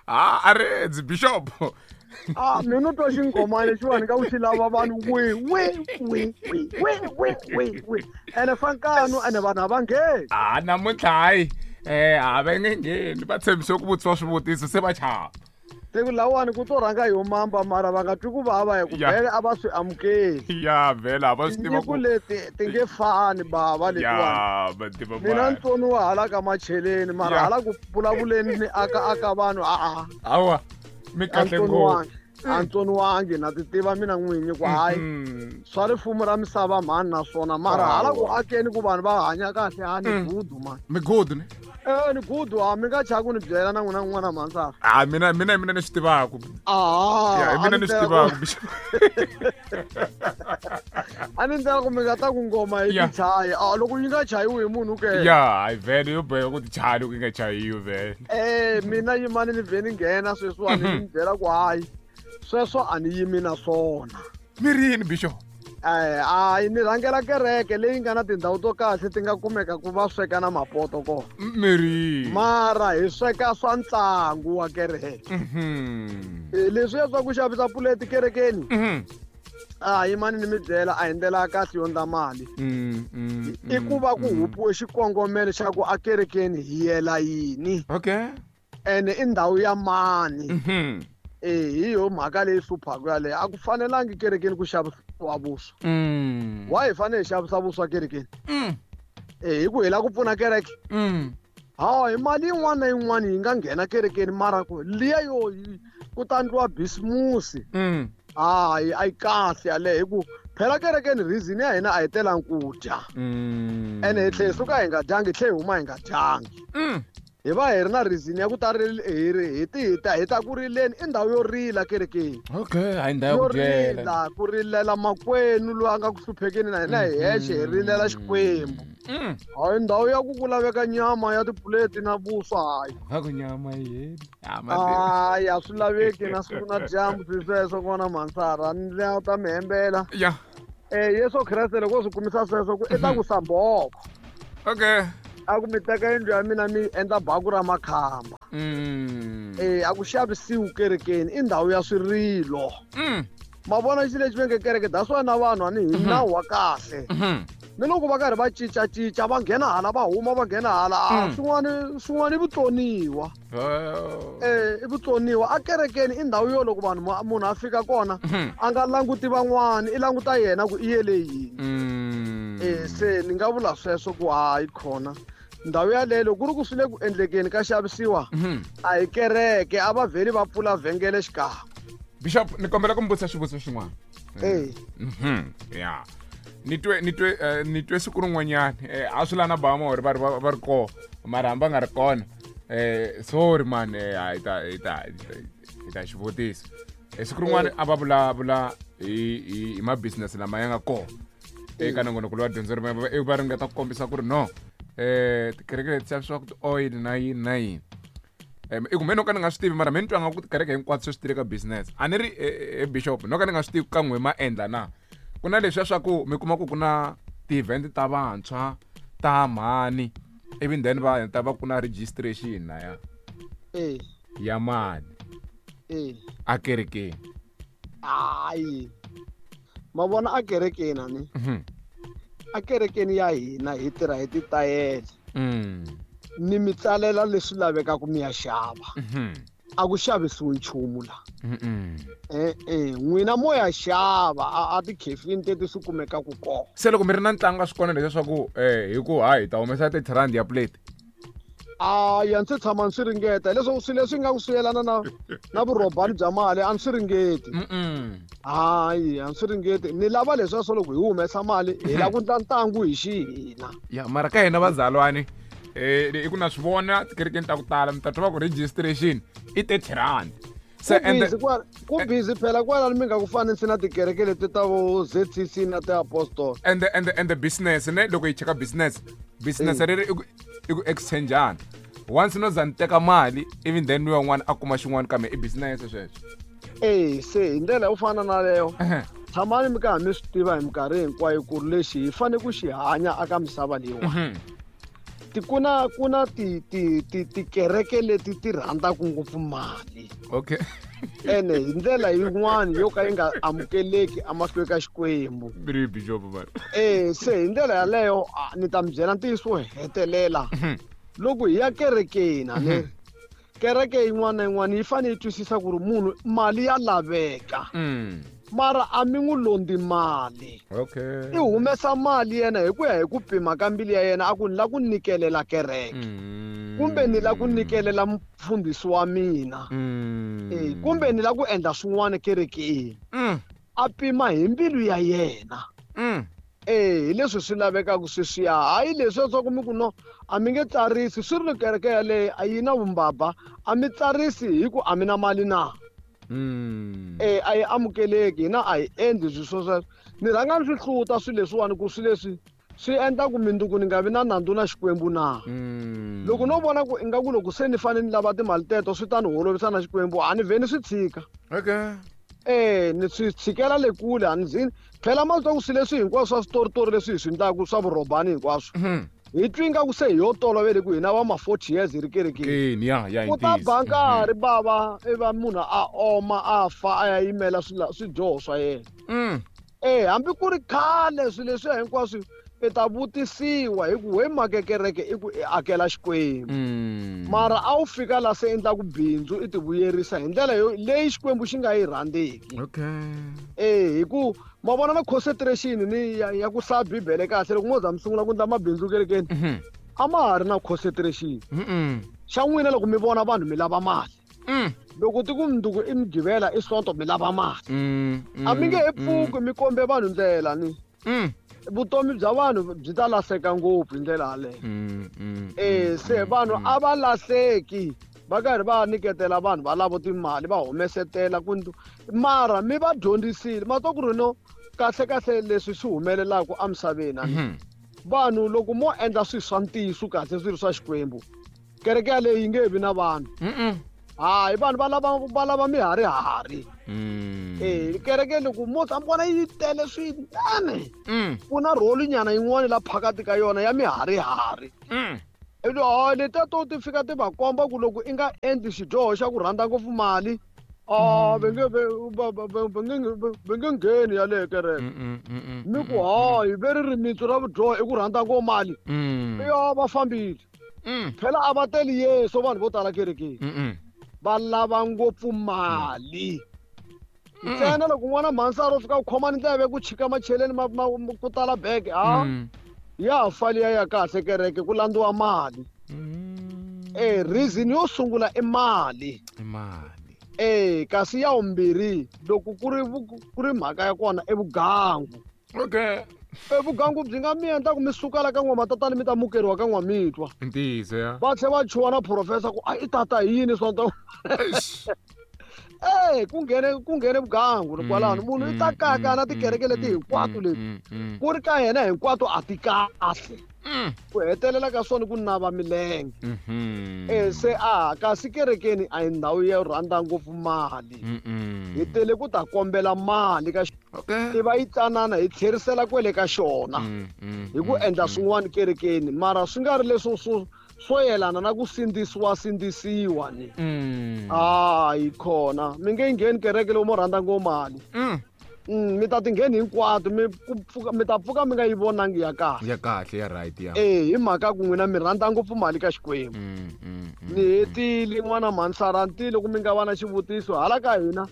A a ri ndzi bishop. A mina u twa xinghomani lexiwani ka ku xi lava vanhu we we we we we we we we ene fa nkanu ene vanhu a va ngheni. A namuntlha hayi a va nge ngheni, va tshembise ku vutisiwa swivutiso se va chava. Se ku lawani ku to rhanga hi mamba, mara va nga twi ku vava hi ku vhele a va swi amukeli. Ya vhele a va swi tiva ku leti ti nge fani bava letiwani. Ya va tiva. Mina ntsoniwa hala ka macheleni, mara hala ku vulavuleni ni aka aka vanhu a Hawa, mi kahle ngopfu. A ntsoniwangi na ti tiva mina n'winyi ku hayi swa rifumo ra misava mhani naswona, mara hala ku akeni ku vanhu va hanya kahle ha ni gudu mani. Mi gudu ne? Ni gudu, a mi nga chavi ku ni byela na n'wina n'wana mhansara. A mina ni swi tivaku. Ya, mina ni swi tivaku. A ni ndlela ku mi nga ta ku ngoma yi tichayi. A loko yi nga chayiwi hi munhu ke. Ya, hayi vhele yo boheka ku tichaya loko yi nga chayiwi vhele. Mina yimani ni vhe ni nghena sweswiwani ni byela ku hayi sweswo a ni yimi na swona. Mi ri yini bishop? Hayi ni rhangela kereke leyi nga na tindhawu to kahle ti nga kumeka ku va sweka na mapoto kona. Mi ri. Mara hi sweka swa ntlangu wa kereke. Leswiya swa ku xavisa puleti kerekeni. A yimani ni mi byela a hi ndlela ya kahle yo ndla mali. I ku va ku hupiwe xikongomelo xa ku a kerekeni hi yela yini. Okay. Ene i ndhawu ya mani. Hi yo mhaka leyi hluphaka yaleyo. A ku fanelangi kerekeni ku xavisiwa vuswa. Why hi fanele hi xavisa vuswa kerekeni? Hi ku hi lava ku pfuna kereke. Hawa, hi mali yin'wana na yin'wana yi nga nghena kerekeni, mara ku liya yo ku ta ndliwa bisimusi. Hayi, a yi kahle yaleyo, hi ku phela kerekeni reason ya hina a hi telangi ku dya. Ene hi tlhela hi suka hi nga dyangi, hi tlhela hi huma hi nga dyangi. Hi va hi ri na reason ya ku ta ri hi ri hi ti hi ta hi ta ku rileni, i ndhawu yo rila kerekeni. Okay, hayi ndhawu ya ku dyela. Rila, ku rilela makwenu loyi a nga ku hluphekeni na hina hi hexe hi rilela Xikwembu. Hayi ndhawu ya ku ku laveka nyama ya tipuleti na vuswa hayi. Va ku nyama yini? Hayi, a swi laveki na siku na dyambu swi sweswo kona mhansara, ni la ta mi hembela. Yesu Kreste loko swi kumisa sweswo ku i ta ku samboko. Okay. A ku mi teka yindlu ya mina mi endla baku ra makhamba. A ku xavisiwi kerekeni, i ndhawu ya swirilo. Ma vona xilo lexi va nge kereke, that's why na vanhu a ni hi nawu wa kahle. Ni loko va karhi va cincacinca, va nghena hala va huma, va nghena hala, swin'wana i vutsoniwa. I vutsoniwa. A kerekeni i ndhawu yo loko vanhu munhu a fika kona, a nga languti van'wani, i languta yena ku i yele yini. Se ni nga vula sweswo ku hayi khona ndhawu yaleyo loko ku ri ku swi le ku endlekeni ka xavisiwa, a hi kereke, a va vheli va pfula vhengele xikan'we. Bishop, ni kombela ku mi vutisa xivutiso xin'wana. Ya. Ni twe siku rin'wanyana, a swi lana bama or va ri va ri kona, mara hambi va nga ri kona. Sorry man, hi ta xivutiso. Siku rin'wana a va vulavula hi ma business lama ya nga kona eka nongonoko lowa dyondzo ri va ringeta ku kombisa ku ri no, tikereke leti xavisiwaka ti-oil na yini na yini. I ku me no ka ni nga swi tivi, mara me ni twa nga ku tikereke hinkwato se swi tile ka business. A ni ri bishop, no ka ni nga swi tivi ka n'we ma endla na. Ku na leswiya swa ku mi kuma ku ku na ti-event ta vantshwa ta mhani, ivi then va heta va ku na registration na ya. Ya mali. A kerekeni. Hayi. Ma vona a kerekeni ani? A kerekeni ya hina hi tirha hi titayele. Ni mi tsalela leswi lavekaka mi ya xava. A ku xavisiwi nchumu la. N'wina mo ya xava a tikhefini teti swi kumekaka kona. Se loko mi ri na ntlangu a swi kona leswaku hi ku hayi hi ta humesa 30 rand ya plate. Hayi, a ndzi tshama ndzi swi ringeta leswaku swilo leswi nga ku swi yelana na vurhobani bya mali a ndzi swi ringeti. Hayi, a ndzi swi ringeti. Ni lava leswaku loko hi humesa mali hi lava ku endla ntlangu hi xihina. Ya, mara ka hina vazalwane, i ku na swi vona tikerekeni ta ku tala mi ta twa va ku registration i 30 rand. Se Ku busy phela kwalano mi nga ku fanisi na tikereke leti ta vo ZCC na ti-Apostol. And the business ne loko hi cheka business, business ri ri i ku exchangeana. Once no za ni teka mali, even then loyi un'wana a kuma xin'wana kambe i business sweswo. Se hi ndlela yo fana na leyo, tshamani mi karhi mi swi tiva hi minkarhi hinkwayo ku ri lexi hi fanele ku xi hanya aka misava leyiwani. Ku na ti tikereke leti ti rhandzaka ngopfu mali. Ene hi ndlela yin'wani yo ka yi nga amukeleki emahlweni ka Xikwembu. Ri bishop mara. Se hi ndlela yaleyo, ni ta mi byela ntiyiso wo hetelela. Loko hi ya kerekeni, a ni kereke yin'wana na yin'wana yi fanele yi twisisa ku ri munhu mali ya laveka, mara a mi n'wi londi mali. I humesa mali yena hi ku ya hi ku pima ka mbilu ya yena, a ku ni la ku nyikelela kereke, kumbe ni la ku nyikelela mufundhisi wa mina, kumbe ni la ku endla swin'wana kerekeni. A pima hi mbilu ya yena. Hi leswi swi lavekaka sweswiya, hayi leswi swa ku mi ku no, a mi nge tsarisi. Swi ri ni kereke yaleyo a yi na vumbabva, a mi tsarisi hi ku a mi na mali na. A yi amukeleki, hina a hi endli swilo swo sweswo. Ni rhanga ni swi hluta swilo leswiwani, ku swilo leswi swi endla ku mindzuku ni nga vi na nandzu na Xikwembu na. Loko no vona ku ingaku loko se ni fanele ni lava timali teto swi ta ni holovisa na Xikwembu, a ni vhe ni swi tshika. Ni swi tshikela le kule, a ni zi phela ma twa ku swilo leswi hinkwaswo swa switoritori leswi hi swi endlaku swa vurhobani hinkwaswo, hi twi ingaku se hi yo tolovele ku hina va ma 40 years hi ri kerekeni. Keni ya. Ku ta ba nkarhi bava i va munhu a oma a fa, a ya yimela swidyoho swa yena. Hambi ku ri khale, swilo leswiya hinkwaswo i ta vutisiwa hi ku we make kereke i ku i akela Xikwembu, mara a wu fika la se endlaku bindzu, i ti vuyerisa hi ndlela yo leyi Xikwembu xi nga yi rhandzeki. Hi ku ma vona na concentration ni ya ku hlaya Bibele kahle, loko mo za mi sungula ku endla mabindzu kerekeni, a ma ha ri na concentration. Xa n'wina loko mi vona vanhu mi lava mali. Loko ti ku mundzuku i Mugqivela, i Sonto, mi lava mali. A mi nge he pfuki mi kombe vanhu ndlela ni. Vutomi bya vanhu byi ta lahleka ngopfu hi ndlela yaleyo. Se vanhu a va lahleki va karhi va nyiketela vanhu va lava timali va humesetela ku mara mi va dyondzisile ma twa ku ri no kahle kahle leswi swi humelelaka emisaveni a ni. Vanhu loko mo endla swilo swa ntiyiso kahle, swi ri swa Xikwembu, kereke yaleyo yi nge vi na vanhu. Hayi, vanhu va lava miharihari. Kereke loko mo tshama vona yi tele swinene, ku na role nyana yin'wana la phakati ka yona ya miharihari. Ivi hayi, letiya to ti fika ti va komba ku loko i nga endli xidyoho xa ku rhandza ngopfu mali, a va nge ngheni yaleyo kereke. Mi ku hayi, ve ri rimitsu ra vudyoho i ku rhandza ngopfu mali. Ya, va fambile. Phela a va teli Yesu vanhu vo tala kerekeni. Va lava ngopfu mali ntsena. Loko n'wana mhansari o fika ku khoma ni ndleve ku chika macheleni ku tala bege, ha ya ha fali ya kahle kereke ku landziwa mali. Reason yo sungula i mali. I mali. Kasi ya vumbirhi, loko ku ri mhaka ya kona i vugangu. Vugangu byi nga mi endla ku mi suka la ka n'wamatatani mi ta mukeriwa ka n'wamitwa. Ntiyiso ya. Va tlhe va chuha na professor ku a i tata hi yini swa Eish. Ku nghene vugangu kwalano. Munhu i ta kaka na tikereke leti hinkwato leti, ku ri ka yena hinkwato a ti kahle. Ku hetelela ka swona ku nava milenge. Se a kasi kerekeni a hi ndhawu yo rhandza ngopfu mali. Hi tele ku ta kombela mali ka ti va yi tsanana, hi tlherisela kwele ka xona hi ku endla swin'wana kerekeni, mara swi nga ri leswo swo yelana na ku sindzisiwa sindzisiwa ni. Hayi khona, mi nge ngheni kereke loko mo rhandza ngopfu mali. Mi ta ti ngheni hinkwato, mi ku pfuka mi ta pfuka mi nga yi vonangi ya kahle. Ya kahle, ya right ya. Hi mhaka ku n'wina mi rhandza ngopfu mali ka Xikwembu. Ni hetile, n'wana mhansara, loko mi nga va na xivutiso hala ka hina,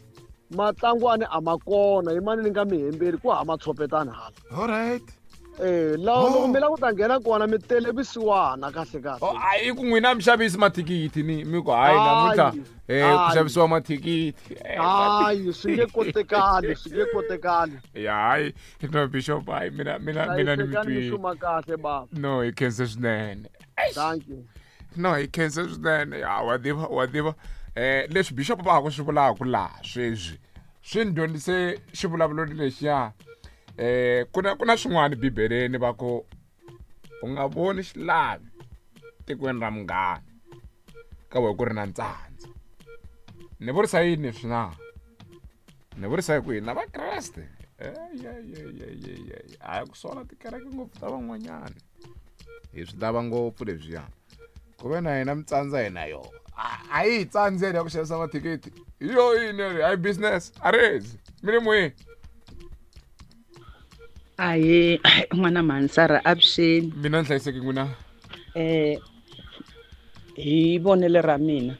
matlangwani a ma kona, yimani ni nga mi hembeli ku hama tshopetani hala. All right. Laha Oh. loko mi lava ku ta nghena kona, mi tele vusiwana kahle kahle. Oh, a i ku n'wina mi xavisi mathikithi ni mi ku hayi namuntlha ku Hayi. xavisiwa mathikithi. Hayi, swi nge kotekali, swi nge kotekali. Ya, hayi no bishop, hayi mina ni mi Hlayisekani, mi twile. xuma kahle baba. No, hi khense swinene. Thank you. No, hi khense swinene. Ya, wa tiva leswi bishop va ha ku swi vulaka laha sweswi swi ni dyondzise xivulavulo lexiya. Ku na swin'wana Bibeleni va ku u nga voni xilavi tikweni ra munghana ka we ku ri na ntsandza. Ni vurisa yini leswi na? Ni vurisa hi ku hina Vakreste a hi ku sola tikereke ngopfu ta van'wanyana. Hi swi lava ngopfu leswiya. Ku ve na hina mi tsandza hina yo. A yi hi tsandzeni ya ku xavisa mathikithi. Hi yo yini ri hayi business a rezi. Mi le moyeni. Ahee n'wana mhani Sara avuxeni. Mina ni hlayiseki n'wina. Hi vonelo ra mina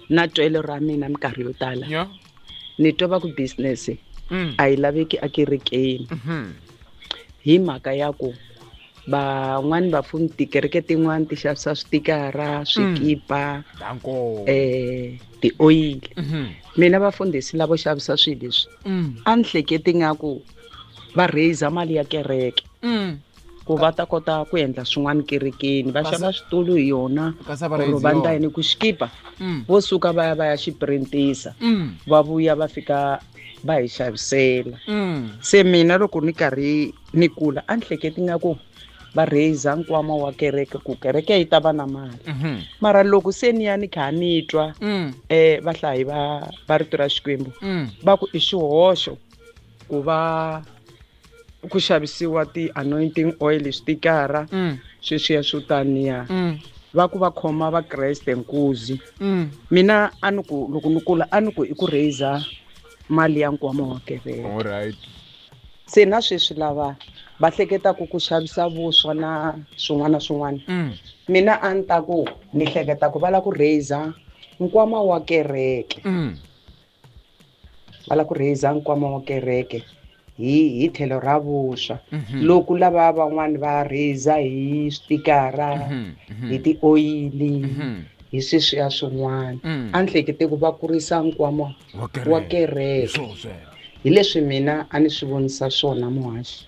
na twelo ra mina minkarhi yo tala. Ni twa va ku business a yi laveki ekerekeni. Hi mhaka ya ku van'wani vafumi tikereke tin'wani ti xavisa switikara, swikipa, tioyili. Mina vafundhisi lavo xavisa swilo leswi a ni hleketi nga ku va raise mali ya kereke ku va ta kota ku endla swin'wana kerekeni, va xava switulu hi yona or va ndla yini ku xikipa vo suka va ya va ya xi printisa va vuya va fika va hi xavisela. Se mina loko ni karhi ni kula a ni hleketi nga ku va raise nkwama wa kereke ku kereke yi ta va na mali. Mara loko se ni ya ni kha ni twa vahlayi va rito ra Xikwembu va ku i xihoxo ku va ku xavisiwa ti-anointing oil, switikara sweswiya swo taniya. Va ku va khoma vakreste nkuzi. Mina a ni ku loko ni kula a ni ku i ku raise mali ya nkwama wa kereke. Alright. Se na sweswi lava va hleketaka ku xavisa vuswa na swin'wana swin'wana. Mina a ni ta ku ni hleketa ku va lava ku raise nkwama wa kereke. Va lava ku raise nkwama wa kereke hi tlhelo ra vuswa. Loko lava van'wani va raise hi switikara, hi tioyili, hi sweswiya swin'wana. A ni hlekete ku va kurisa nkwama wa kereke. Hi leswi mina a ni swi vonisa swona muhaxi.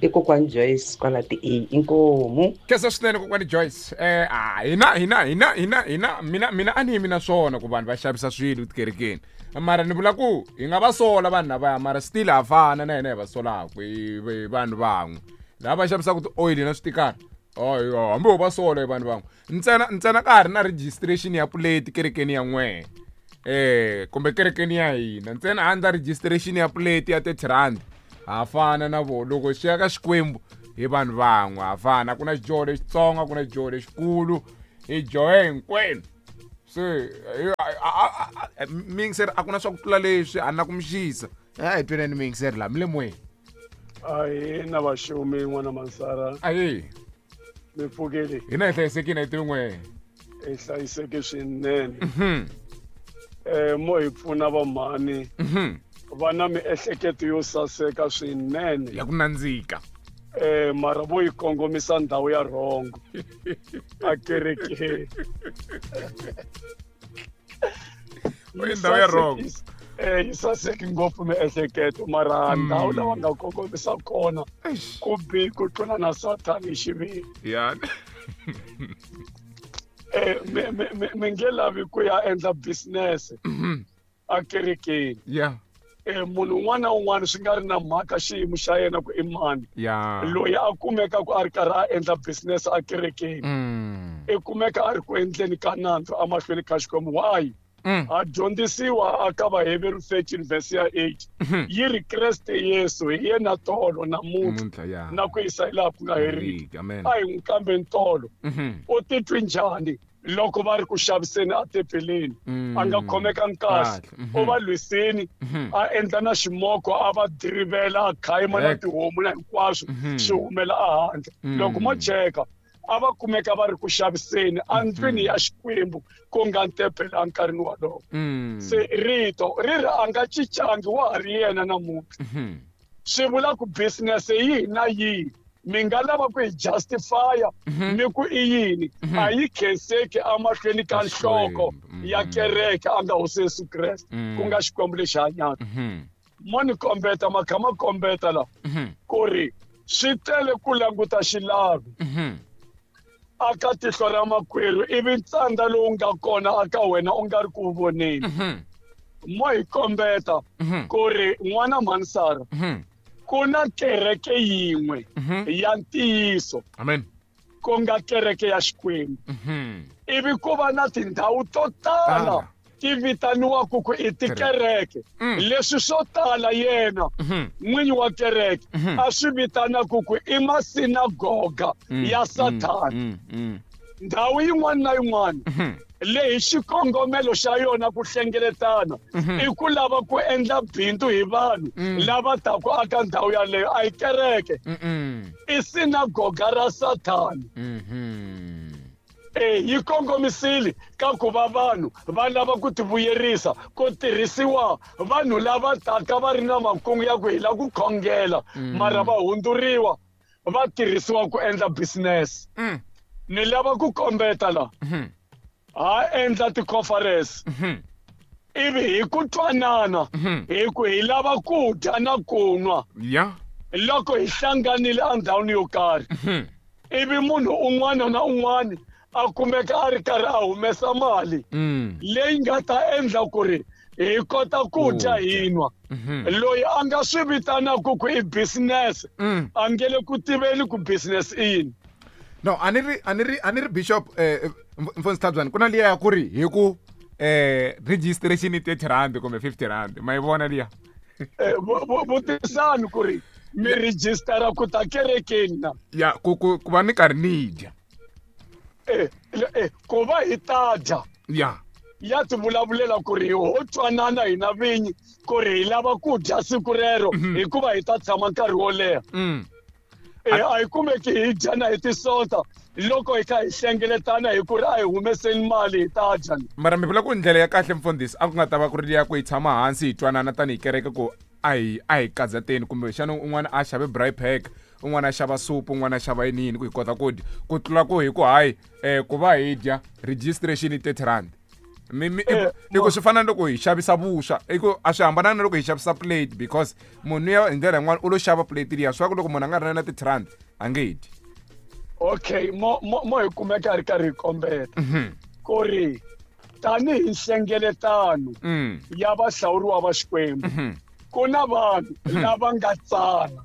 I kokwani Joyce kwala ti A inkomu. Khensa swinene kokwani Joyce. Hina mina a ni yimi na swona ku vanhu va xavisa swilo tikerekeni. Mara ni vula ku hi nga va sola vanhu lavaya, mara still ha fana na hina hi va solaka hi vanhu van'we. Lava va xavisaka ti-oil na switikara, hambi ho va sola hi vanhu van'we. Ntsena ka ha ri na registration ya plate kerekeni ya n'wehe. Kumbe kerekeni ya hina. Ntsena a ndla registration ya plate ya 30 rand. Ha fana na vona. Loko swi ya ka Xikwembu hi vanhu van'we, ha fana. Ku na xidyoho lexitsongo, ku na xidyoho lexikulu, hi dyohe hinkwenu. Se, miyingiseri a ku na swa ku tlula leswi, a na ku mi xisa. Hi tweneni miyingiseri laha, mi le moyeni. Ahee, na vaxumi n'wana Mansara. Ahee. Mi pfukile? Hina hi hlayisekile, hi tivi n'wehe. Hi hlayiseke swinene. Mo hi pfuna vamhani. Va na miehleketo yo saseka swinene. Ya ku nandzika. Mara vo yi kongomisa ndhawu ya rhongo. A kerekeni. Vo yi ndhawu ya rhongo. Yi saseki ngopfu miehleketo, mara ndhawu lawa nga kongomisa kona ku bi ku tlula na Sathani hi xiviri. Mi nge lavi ku ya endla business a kerekeni. Munhu un'wana na un'wana swi nga ri na mhaka xiyimo xa yena ku i mani. Loyi a kumeka ku a ri karhi a endla business a kerekeni. I kumeka a ri ku endleni ka nandzu emahlweni ka Xikwembu. Why? A dyondzisiwa aka Vaheveru 13 verse ya 8. Yi ri Kreste Yesu hi yena tolo namuntlha na ku yisa hi laha ku nga heriki. Amen. A hi n'wi kambe ntolo. U titwi njhani loko va ri ku xaviseni a tempeleni? A nga khomekangi kahle. U va lwisini, a endla na ximoko, a va dirivela, a khayima na tihomu na hinkwaswo swi humela ehandle. Loko mo cheka, a va kumeka va ri ku xaviseni endlwini ya Xikwembu ku nga tempele enkarhini wolowo. Se rito ri ri a nga cincangi, wa ha ri yena namuntlha. Swi vula ku business yihi na yihi mi nga lava ku yi justify-a mi ku i yini, a yi khenseki emahlweni ka nhloko ya kereke a nga Hosi Yesu Kreste, ku nga Xikwembu lexi hanyaka. Mo ni kombeta, ma kha ma kombeta la ku ri swi tele ku languta xilavi aka tihlo ra makwerhu ivi ntsandza lowu nga kona aka wena u nga ri ku voneni. Mo hi kombeta ku ri n'wana Mhanisara ku na kereke yin'we ya ntiyiso. Amen. Ku nga kereke ya Xikwembu. Ivi ku va na tindhawu to tala ti vitaniwaka ku i tikereke leswi swo tala yena n'winyi wa kereke a swi vitanaka ku i masinagoga ya Sathana. Ndhawu yin'wana na yin'wana leyi xikongomelo xa yona ku hlengeletana i ku lava ku endla bindzu hi vanhu lava taku aka ndhawu yaleyo a hi kereke i sinagoga ra Sathana. Yi kongomisile ka ku va vanhu va lava ku tivuyerisa ku tirhisiwa vanhu lava taka va ri na makungu ya ku hi lava ku khongela mara va hundzuriwa va tirhisiwa ku endla business. Ni lava ku kombeta la ha endla ti-conference ivi hi ku twanana hi ku hi lava ku dya na ku nwa loko hi hlanganile endhawini yo karhi ivi munhu un'wana na un'wana a kumeka a ri karhi a humesa mali leyi nga ta endla ku ri hi kota ku dya hi nwa. Loyi a nga swi vitanaka ku i business a nge le ku tiveni ku business i yini. No, a ni ri Bishop Mfundhisi Tlhabyana ku na liya ya ku ri hi ku registration i 30 rand kumbe 50 rand ma yi vona liya. Vutisani ku ri mi registera ku ta kerekeni na ya ku va ni karhi ni dya ku va hi ta dya ya ti vulavulela ku ri ho twanana hina vinyi ku ri hi lava ku dya siku rero hikuva hi ta tshama nkarhi wo leha. A hi kumeki hi dya na hi tisonta loko hi kha hi hlengeletana hi ku ri a hi humeseni mali hi ta dya. Mara mi vula ku ndlela ya kahle mfundhisi a ku nga ta va ku ri liya ku hi tshama hansi hi twanana tanihi kereke ku a hi kadzateni kumbe xana un'wana a xave braai pack un'wana a xava supu un'wana a xava yini yini ku hi kota ku dya ku tlula ku hi ku hayi ku va hi dya registration i 30 rand. I ku swi fana na loko hi xavisa vuswa i ku a swi hambananga na loko hi xavisa plate because munhu ya hi ndlela yin'wana u lo xava plate liya swa ku loko munhu a nga ri na ti-30 rand a nge dyi. Okay, mo hi kumeka hi ri karhi hi kombeta ku ri tanihi nhlengeletano ya vahlawuriwa va Xikwembu ku na vanhu lava nga tsana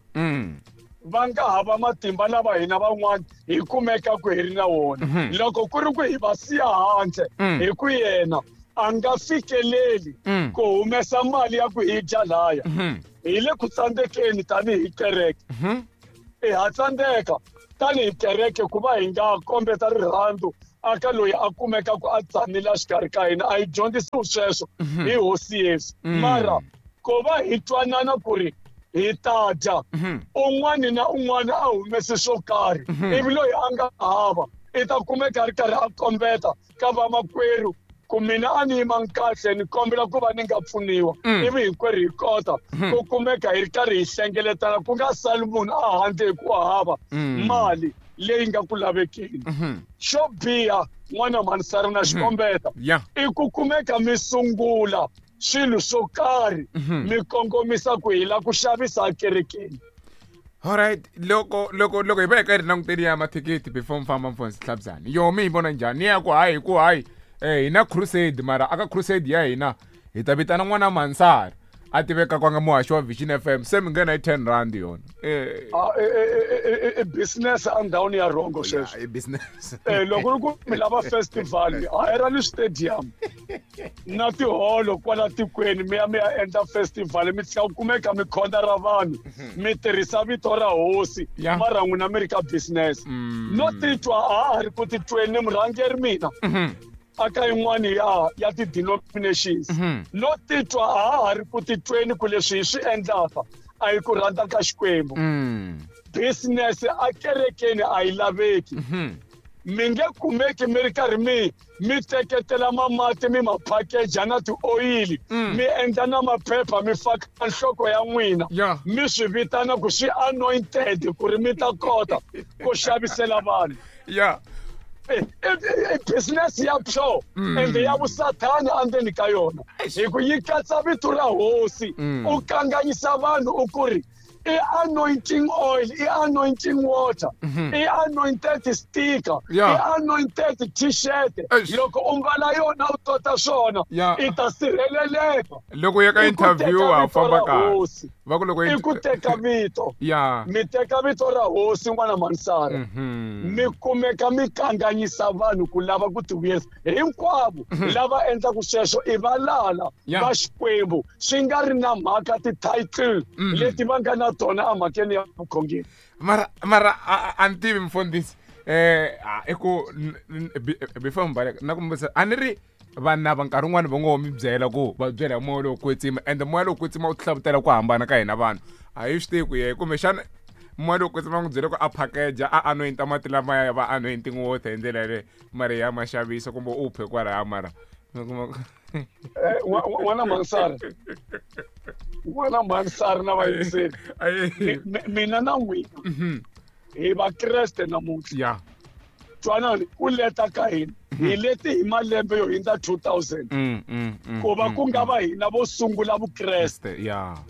va nga hava matimba lava hina van'wana hi kumeka ku hi ri na wona. Loko ku ri ku hi va siya handle hi ku yena a nga fikeleli ku humesa mali ya ku hi dya laya hi le ku tsandzekeni tanihi kereke. Ha tsandzeka tanihi kereke ku va hi nga kombeta rirhandzu aka loyi a kumeka ku a tsanile exikarhi ka hina. A hi dyondzisiwi sweswo hi Hosi Yesu. Mara ku va hi twanana ku ri hi ta dya un'wana na un'wana a humese swo karhi ivi loyi a nga hava i ta kumeka a ri karhi a kombeta ka vamakwerhu ku mina a ni yimanga kahle ni kombela ku va ni nga pfuniwa ivi hinkwerhu hi kota ku kumeka hi ri karhi hi hlengeletana ku nga sali munhu a handle hi ku hava mali leyi nga ku lavekeni. Xo biha n'wana mhanisari na xikombeta i ku kumeka mi sungula swilo swo karhi mi kongomisa ku hi la ku xavisa ekerekeni. Alright, loko hi va hi karhi languteni ya mathikithi before mfamba Mfundhisi Tlhabyana yo mi yi vona njhani ya ku hayi ku hayi hina crusade mara aka crusade ya hina hi ta vitana n'wana Mansari a tiveka kwanga muhaxi wa Vision FM se mi nghena hi 10 rand yona. I business endhawini ya rhongo sweswo. I business. Loko ri ku mi lava festival hayerani stadium na tiholo kwala tikweni mi ya endla festival mi tlhela kumeka mi khonda ra vanhu mi tirhisa vito ra hosi mara n'wina mi ri ka business. No titwa a ha ri ku titweni murhangeri mina aka yin'wana ya ti-denominations no titwa a ha ri ku titweni ku leswi hi swi endlaka a hi ku rhandza ka Xikwembu. Business a kerekeni a yi laveki. Mi nge kumeki mi ri karhi mi teketela mamati mi ma package na ti-oyili mi endla na maphepha mi faka nhloko ya n'wina mi swi vitana ku swi anointed ku ri mi ta kota ku xavisela vanhu. I business ya pure ende ya vusathani endzeni ka yona hi ku yi katsa vito ra hosi u kanganyisa vanhu u ku ri I anointing oil, i anointing water, i anointed sticker, i anointed t-shirt. Loko u mbala yona u tota swona, i ta sirheleleka. Loko u ya ka interview wa famba kahle. Va ku loko i ku teka vito. Mi teka vito ra hosi n'wana Mansara. Mi kumeka mi kanganyisa vanhu ku lava ku tivuyerisa. Hinkwavo lava endlaku sweswo i valala va Xikwembu, swi nga ri na mhaka ti-title leti va nga na tona emhakeni ya vukhongeri. Mara mara a ni tivi mfundhisi, i ku before mi baleka na ku mi vutisa, a ni ri vanhu lava nkarhi wun'wani va ngo mi byela ku va byela hi moya lowo kwetsima, ende moya lowo kwetsima wu hlavutela ku hambana ka hina vanhu, a hi swi tivi ku ye kumbexana moya lowo kwetsima n'wi byele ku a package a anointa mati lamaya ya va anointing water hi ndlela yaleyo, mara ya ma xavisa kumbe u phe kwalaya, mara mi kuma N'wana Mansara, n'wana Mansara na vayingiseri, mina na n'wina hi Vakreste namuntlha. Twanani, ku leta ka hina hi leti hi malembe yo hindza 2000, ku va ku nga va hina vo sungula Vukreste.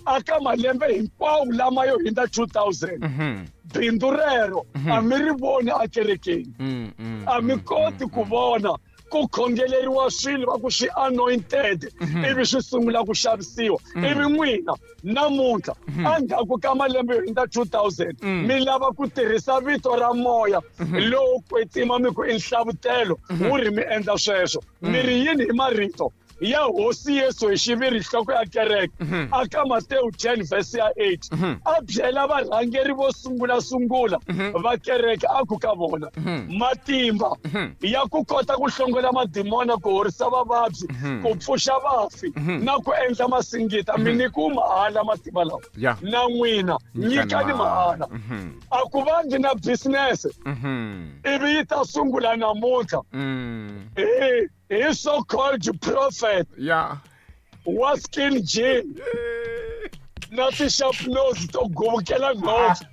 Aka malembe hinkwawo lama yo hindza 2000, bindzu rero a mi ri voni ekerekeni, a mi koti ku vona ku khongeleriwa swilo va ku swi anointed, ivi swi sungula ku xavisiwa. Ivi n'wina namuntlha endzhaku ka malembe yo hindza 2000 mi lava ku tirhisa vito ra moya lowo kwetsima, mi ku i nhlavutelo wu ri mi endla sweswo. Mi ri yini hi marito ya hosi Yesu hi xiviri, nhloko ya kereke, aka Matewu 10 verse ya 8, a byela varhangeri vo sungula sungula va kereke, a ku ka vona, matimba ya ku kota ku hlongola madimona, ku horisa vavabyi, ku pfuxa vafi na ku endla masingita, mi nyikiwe mahala matimba lawa, na n'wina nyikani mahala. A ku vangi na business ivi yi ta sungula namuntlha hi so called prophet wa skin jean na ti-sharp nose to guvukela ngopfu,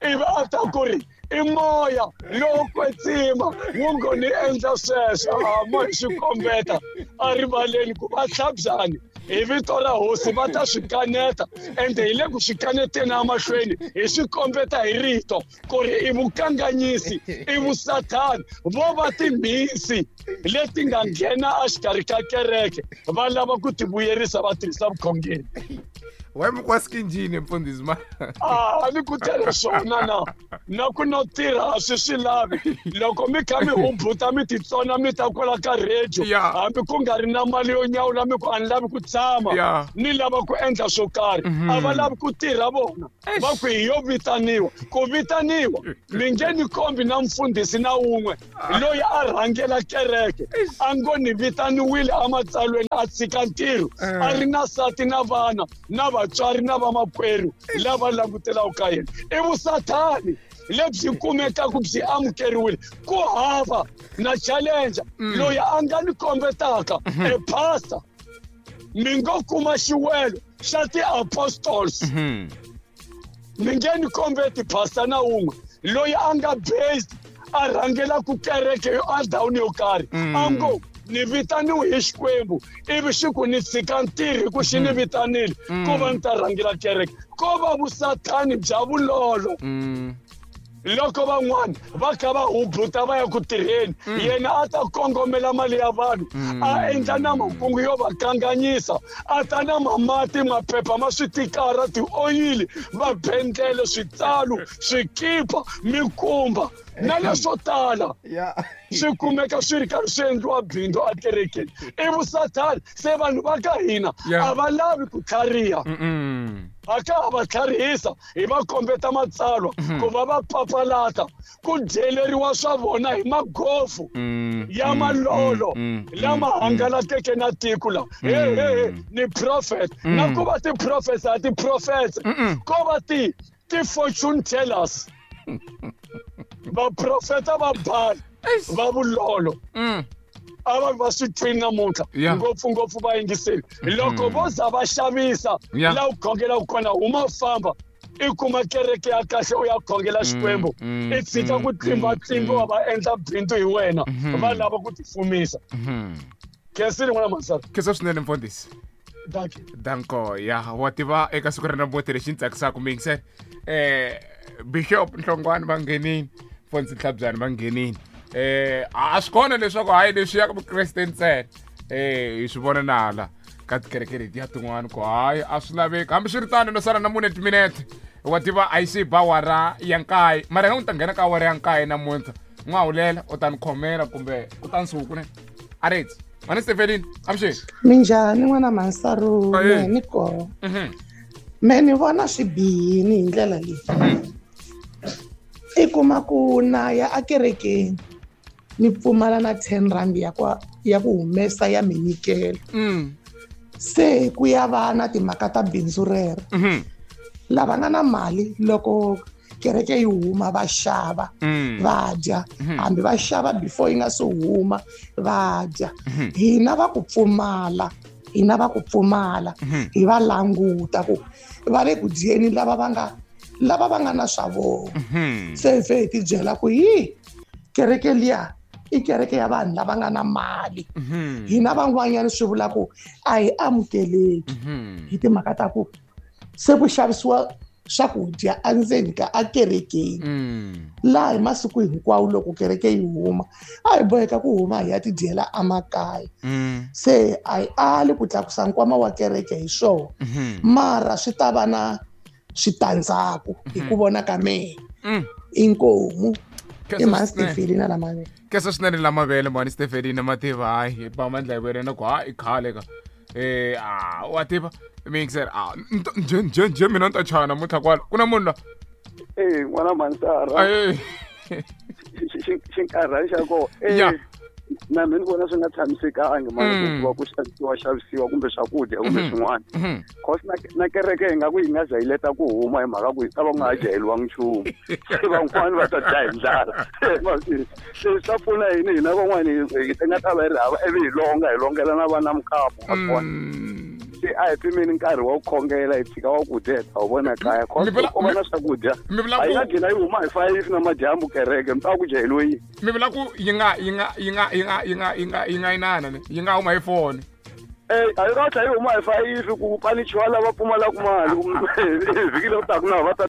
ivi a ta ku ri i moya lowo kwetsima wu ngo ni endla sweswo. A mo hi swi kombeta a rivaleni ku va hlabyani hi vito ra hosi, va ta swi kaneta, ende hi le ku swi kaneteni emahlweni, hi swi kombeta hi rito ku ri i vukanganyisi, i vusathani, vo va timhisi leti nga nghena exikarhi ka kereke, va lava ku tivuyerisa, va tirhisa vukhongeri. Wa mi kwa skinjini mfundhisi ma A ni ku tele swona na na ku no tirha a swi swi lavi. Loko mi kha mi hubuta mi titsona mi ta kwala ka radio, hambi ku nga ri na mali yo nyawula, mi ku a ni lavi ku tshama, ni lava ku endla swo karhi. A va lavi ku tirha vona, va ku hi yo vitaniwa ku vitaniwa. Mi nge ni kombi na mfundhisi na wun'we loyi a rhangela kereke a ngo ni vitaniwile ematsalweni a tshika ntirho, a ri na sati na vana na vatswari na vamakwerhu lava langutelaka ka yena. I vusathani lebyi kumekaka byi amukeriwile. Ku hava na challenge loyi a nga ni kombetaka e pastor, mi ngo kuma xiwelo xa ti-apostles, mi nge ni kombeti pastor na wun'we loyi a nga based a rhangelaku kereke yo endhawini yo karhi a ngo ni vitaniwe hi Xikwembu ivi xi ku ni tshika ntirho hi ku xi ni vitanile ku va ni ta rhangela kereke. Ko va vusathani bya vulolo. Loko van'wana va kha va hubuta va ya ku tirheni, yena a ta kongomela mali ya vanhu, a endla na makungu yo va kanganyisa, a ta na mamati, maphepha ma switikara, tioyili, vabendlele, switsalu, swikipa, mikumba na leswo tala, swi kumeka swi ri karhi swi endliwa bindzu ekerekeni. I vusathani. Se vanhu va ka hina a va lavi ku tlhariha, a ka ha va tlharihisa, hi va kombeta matsalwa ku va va papalata ku dyeleriwa swa vona hi magofu ya malolo lama hangalakeke na tiko la. He he he, ni prophet, na ku va ti-prophets a ti-prophets, ko va ti ti-fortune tellers, vaprofeta va bali va vulolo. A va va swi twini namuntlha, ngopfungopfu vayingiseri, loko vo za va xavisa laha u khongelaka kona, huma famba i kuma kereke ya kahle u ya khongela Xikwembu, i tshika ku tlimbatlimbiwa, va endla bindzu hi wena, va lava ku tifumisa. Khensile n'wana Masara. Khensa swinene mfundhisi. Dankie. Danko ya wa tiva eka siku ra namuntlha lexi ni tsakisaka mingisela Bishop Nhlongwane va nghenini, Fonsi Ntlhabyani va nghenini. A swi kona leswaku hayi leswi ya ka Vukreste ntsena. Hi swi vona na hala ka tikereke letiya tin'wana ku hayi a swi laveki. Hambiswiritano no sala na mune timinete. Wa tiva a yi se ba awara ya nkaye, mara nga u ta nghena ka awara ya nkaye namuntlha. N'wahulela u ta ni khomela kumbe u ta nsuku ne. Aretsi. Mhani Stefelini, avuxeni. Minjhani n'wana Mansaru, mehe ni kona. Me ni vona swi bihini hi ndlela leyi. I kuma ku na ya akerekeni ni pfumala na 10 rand ya ku ya ku humesa ya minyikelo. Se ku ya va na timhaka ta bindzu rero. Lava nga na mali loko kereke yi huma va xava va dya, hambi va xava before yi nga se huma va dya. Hina va ku pfumala, hina va ku pfumala hi va languta ku va le ku dyeni lava va nga na swa vona. Se hi ti byela ku hi kereke liya i kereke ya vanhu lava nga na mali. Hina van'wanyana swi vula ku a hi amukeleki hi timhaka ta ku se ku xavisiwa swakudya endzeni ka akerekeni. Laha hi masiku hinkwawo loko kereke yi huma a hi boheka ku huma hi ya tidyela emakaya. Se a hi ali ku tlakusa nkwama wa kereke hi swona, mara swi ta va na switandzhaku hi ku vona ka mehe. Inkomu i Mhani Stefelina Lamavele. Kesa swinene Lamavele Mhani Stefelina mativa hayi ba mandla hi wena ku hayi i khale ka wa tiva mixer nje nje nje mina ni ta chaya namuntlha kwala ku na munhu la n'wana Mansara xinkarhani xa kona na mina ni vona swi nga tshamisekangi mani ku va ku xavisiwa kumbe swakudya kumbe swin'wana. Cause na kereke hi nga ku yi nga jahileta ku huma hi mhaka ku yi ta va ku nga ha jaheliwangi nchumu. Se van'wani va ta dya hi ndlala. Se swi ta pfuna yini hina van'wani hi nga ta va hi ri hava ivi hi longa hi longela na vana mukapu wa kona. Se a hi pimeni nkarhi wa ku khongela hi tshika wa ku dya hi ta wu vona kaya. Cause ku va na swakudya a yi nga gcina yi huma hi 5 na madyambu kereke mi ta ku jaheliwe yini. Mi vula ku yi nga yi nga yi nga yi nga yi nga yi nga yi nga inana ne yi nga huma hi 4. A yi nga tlhela yi huma hi 5 ku panichiwa lava pfumalaka mali vhiki leri taka na va ta